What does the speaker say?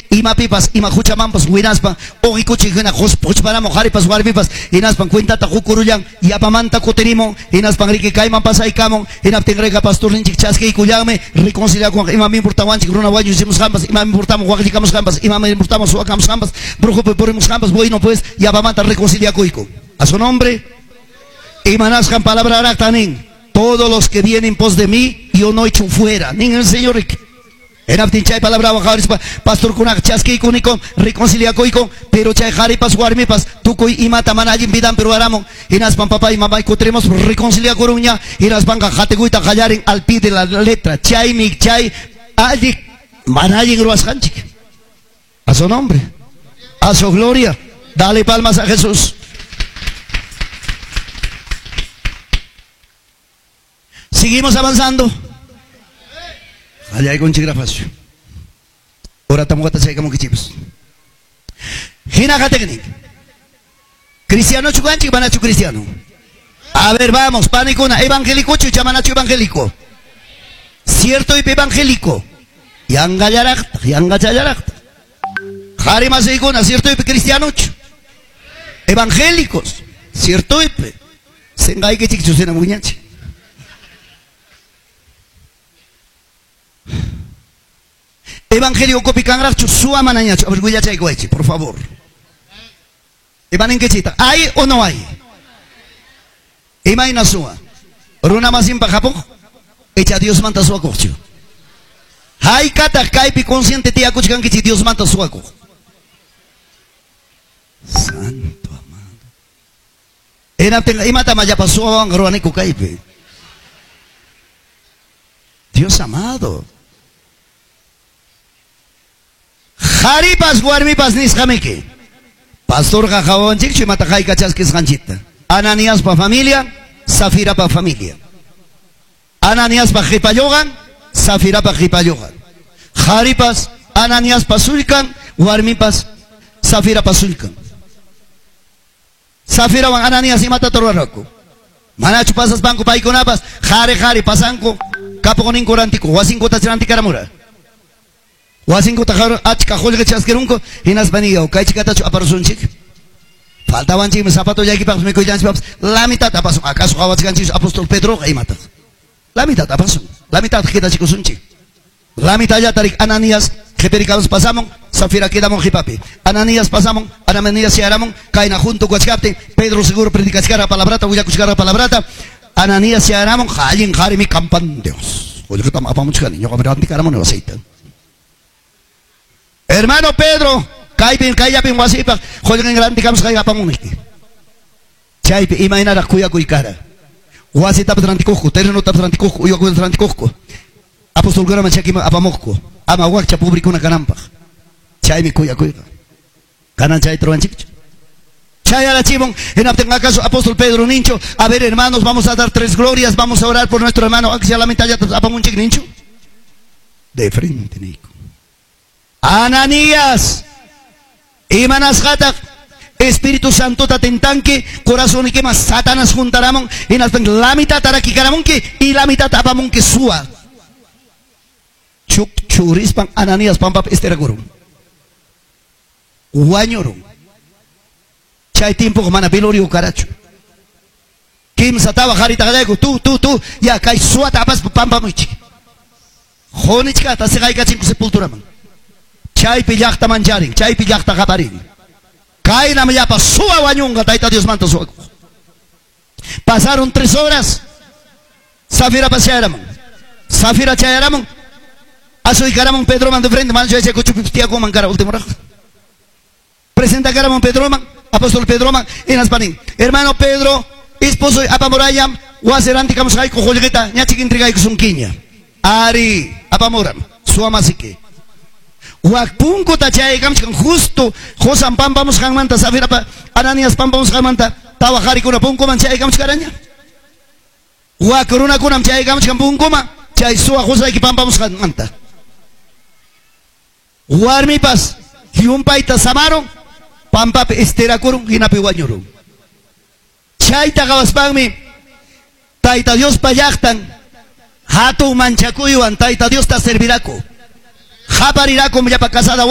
Imapipas ima huchamanpas winaspan uqikuchik hina quchparamuq qharipas warmipas hinaspan cuentata qukurullan yapamanta kutirimun hinaspan riki kayman pasaykamun hinaptin riqa pastorninchik chaskiykullanmi reconciliakunqa imam importawanchik runa wañuchimusqanpas imam importamun waqllikamusqanpas imam importamun suwakamusqanpas brujupi purimusqanpas bueno pues yapamanta reconciliakuyku. A su nombre. Imanasqan palabraraqta nin todos los que vienen pos de mí yo no echo fuera nin el Señor. Hinaptin chay palabrawan qhawarispa pastorkunaqa chaskiykunikun reconciliakuyku pero chay qharipas warmipas tukuy imata mana allin vidanpi ruwaramun hinaspan papay mamay kutirimos reconciliakurunña hinaspanqa qatikuyta qallarin al pie de la letra chaymi chay alli mana allin ruwasqanchik. A su nombre, a su gloria, dale palmas a Jesús. Seguimos avanzando. Qallaykunchik rafacio. Ora tamuqata chaykamunkichikpas. Hina qatiqnin. Cristiano chukanchik manachu cristiano. A ver, vamos, panikuna, evangélico chu manachu evangélico. Cierto y evangélico. Yangallaraqta, yangachallaraqta. Qhari masiykuna, cierto y cristiano chu. Evangélicos, cierto y senqaykichik chusina muñanchik. Evangelio kopikanraqchu suwa manañachu. A ver, willachaykuwaychik, por favor. Imaninkichita, ¿hay o no hay? Imayna suwa. Runa masinpa hapuq, icha Diosmanta suwakuqchu. Haykataq kaypi consciente tiyakuchkankichik Diosmanta suwakuq. Santo amado. Hinaptinqa imatam allapa suwawanqa ruwaniku kaypi. Dios amado. Qharipas warmipas nisqamiki. Pastorqa qawawanchikchu imata hayka chaskisqanchikta. Ananiaspa familia, Safirapa familia. Ananiaspa qhipalluqan, Safirapa qhipalluqan. Qharipas Ananiaspa sullkan, warmipas Safirapa sullkan. Safirawan Ananias imata ruwarqaku. Manachu pasaspanku paykunapas qhari qhari pasanku kapuqninku rantiku wasinkuta rantikaramura. Wasinkuta achka qullqi chaskirunku hinaspa niyaw kaychikatachu aparusunchik. Faltawanchikmi zapatollaykipaqpas mikuyllanchikpapas la mitad apasun. Acaso qhawachkanchik apóstol Pedroqa imataq. La mitad apasun. La mitad qidachikusunchik. La mitad tarik Ananías qhipirikamus pasamun Safira quedamun qipapi. Ananías pasamun Ananías chayaramun kayna junto kuachkaptin Pedro seguro predicachkara palabrata willakuchkara palabrata Ananías chayaramun allin qharimi kampan Dios. Qullqitam apamuchkani ñuqa rantikaramuni wasiyta. Hermano Pedro, kaypin kayllapin wasipaq qullqin rantikamusqayki apamunki. Chaypi imaynaraq kuyakuy kara. Wasitapas rantikuqku, terrenotapas rantikuqku, uywakunata rantikuqku. Apostolkunaman chakiman apamuqku. Ama wakcha pobrikuna kananpaq. Chaymi kuyakuyqa. Kanan chayta ruwanchikchu. Chayarachimun, hinaptin acaso apóstol Pedro nincho, a ver hermanos, vamos a dar tres glorias, vamos a orar por nuestro hermano, aunque sea la mitad ya apamunchik nincho. De frente, Nico. Ananías, imanasqataq Espíritu Santo tentanque, corazón y quema Satanás juntaramon, hinaspan la mitad tarakikaramonki y la mitad apamonki suwa. Chuk churispan Ananías pampap esterakurum. Wañurum. Chay tiempo mana velorio karachu. Kimsa tawa qarita qallayku tu ya kay suwata apaspa pampamuchik. Qunichkata siqaykachinku sepulturaman. Chaypi llaqta mancharin, chaypi llaqta qaparin. Kaynam llapa suwa wañunqa Tayta Diosmanta suwakuq. Pasaron 3 horas. Safira chayaramun. Safira chayaramun. Asuykaramun Pedroman de frente, mancho ese kuchupi tiyakuman kara último rajo. Presenta karamun Pedroman, apóstol Pedroman, hinaspanin. Hermano Pedro, esposo apamurayam, wasi rantikamusqayku qullqita, ñachik entregaykusunkiña. Ari, apamuram, suwamasiki. Wak punkuta chaykamchkan justo Josan pampamusqanmanta Safirapa Ananías pampamusqanmanta tawa qarikuna punkuman chaykamchkaraña. Wak runakunam chaykamchkan punkuman chay suwa qusayki pampamusqanmanta. Warmipas llumpayta samaron pampapi estirakurun hinapi wañurun. Chayta qawaspanmi Tayta Diospa llaqtan hatun manchakuywan Tayta Diosta serviraku. Qaparirakum llapa casada.